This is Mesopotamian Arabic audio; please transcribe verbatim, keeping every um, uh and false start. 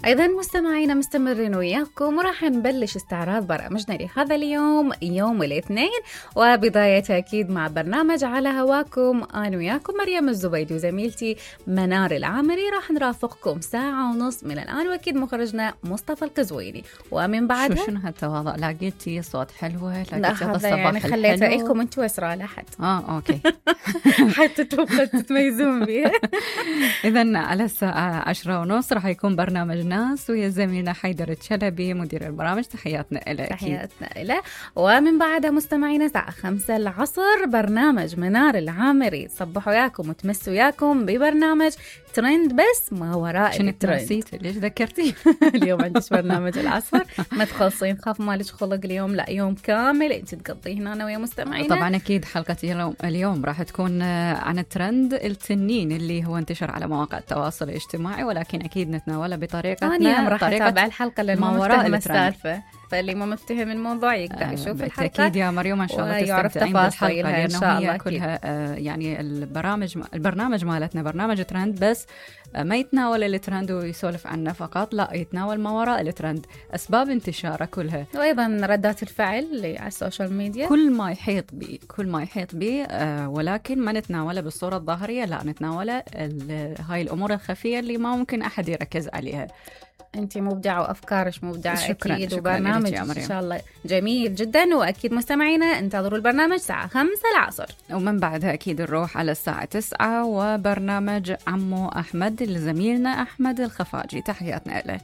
أيضا مستمعينا مستمرين وياكم، وراح نبلش استعراض برامجنا لهذا اليوم يوم الاثنين، وبداية أكيد مع برنامج على هواكم. أنا وياكم مريم الزبيدي وزميلتي منار العامري، راح نرافقكم ساعة ونص من الآن، وأكيد مخرجنا مصطفى القزويني. ومن بعدها شو شنو هالتواضع، لقيتي صوت حلوة، لقيتي لا هذا هذا يعني الصباح خليته الحلو. لكم انتوا اسرع لحد اه اوكي. حتى توقع تتميزون بيها. إذن على الساعة عشرة ونص راح يكون برنامج ناس ويا زميلنا حيدر الشلبي مدير البرامج. تحياتنا له. تحياتنا له. ومن بعدها مستمعينا الساعة خمسة العصر برنامج منار العامري، صبحوا ياكم وتمسوا ياكم ببرنامج ترند بس ما وراء الترند. نسيت ليش ذكرتي؟ اليوم عندش برنامج العصر، ما تخلصين، خاف مالك خلق اليوم، لا يوم كامل انت تقضيه هنا ويا مستمعينا. طبعا اكيد حلقة اليوم اليوم راح تكون عن الترند التنين اللي هو انتشر على مواقع التواصل الاجتماعي، ولكن اكيد نتناوله بطريقتنا. انا راح اتابع الحلقة لأنه ما وراء السالفة، فاللي ما مفتهم الموضوع يقدر يشوف الحلقة. بالتأكيد يا مريم إن شاء الله تستمتعين بالحلقة، إن شاء الله. كلها آه يعني البرامج البرنامج مالتنا برنامج ترند، بس آه ما يتناول الترند ويسولف عنه فقط، لا يتناول ما وراء الترند، أسباب انتشاره كلها، وأيضا ردات الفعل اللي على السوشيال ميديا، كل ما يحيط به كل ما يحيط به آه ولكن ما نتناوله بالصورة الظاهرية، لا نتناوله هاي الأمور الخفية اللي ما ممكن أحد يركز عليها. أنت مبدعة وأفكارش مبدعة. شكرا أكيد. شكرا وبرنامج إن شاء الله جميل جدا، وأكيد مستمعينا انتظروا البرنامج الساعة خمسة العصر، ومن بعدها أكيد نروح على الساعة تسعة وبرنامج عمو أحمد لزميلنا أحمد الخفاجي. تحياتنا له.